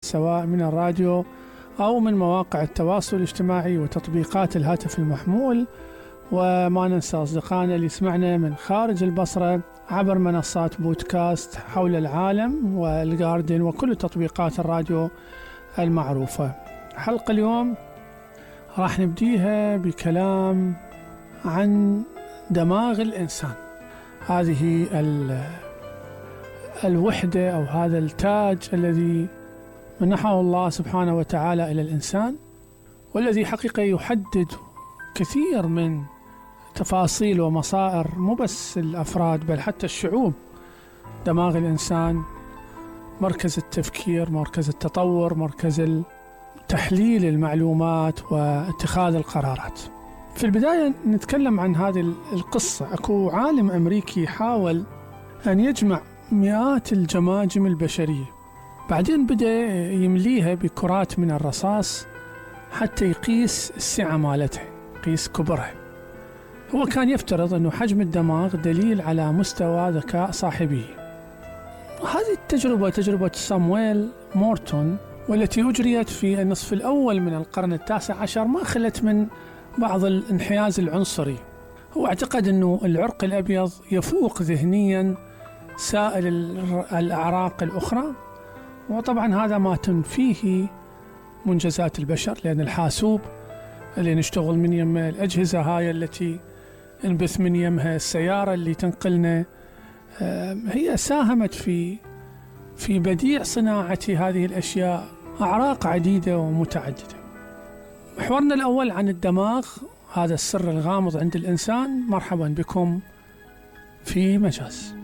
سواء من الراديو أو من مواقع التواصل الاجتماعي وتطبيقات الهاتف المحمول. وما ننسى أصدقائنا اللي يسمعنا من خارج البصرة عبر منصات بودكاست حول العالم والجاردن وكل تطبيقات الراديو المعروفة. حلقة اليوم راح نبديها بكلام عن دماغ الإنسان، هذه الوحدة أو هذا التاج الذي منحه الله سبحانه وتعالى إلى الإنسان، والذي حقيقة يحدد كثير من تفاصيل ومصائر مو بس الأفراد بل حتى الشعوب. دماغ الإنسان مركز التفكير، مركز التطور، مركز تحليل المعلومات واتخاذ القرارات. في البداية نتكلم عن هذه القصة. أكو عالم أمريكي حاول أن يجمع مئات الجماجم البشرية، بعدين بدأ يمليها بكرات من الرصاص حتى يقيس السعة مالتها، يقيس كبرها. هو كان يفترض أنه حجم الدماغ دليل على مستوى ذكاء صاحبه. وهذه التجربة تجربة سامويل مورتون، والتي أجريت في النصف الأول من القرن التاسع عشر، ما خلت من بعض الانحياز العنصري. هو اعتقد أنه العرق الأبيض يفوق ذهنيا سائر الأعراق الأخرى، وطبعا هذا ما تنفيه منجزات البشر، لأن الحاسوب اللي نشتغل من يمه، الأجهزة هاي التي نبث من يمها، السيارة اللي تنقلنا، هي ساهمت في بديع صناعة هذه الأشياء، أعراق عديدة ومتعددة. محورنا الأول عن الدماغ، هذا السر الغامض عند الإنسان. مرحبا بكم في مجاز.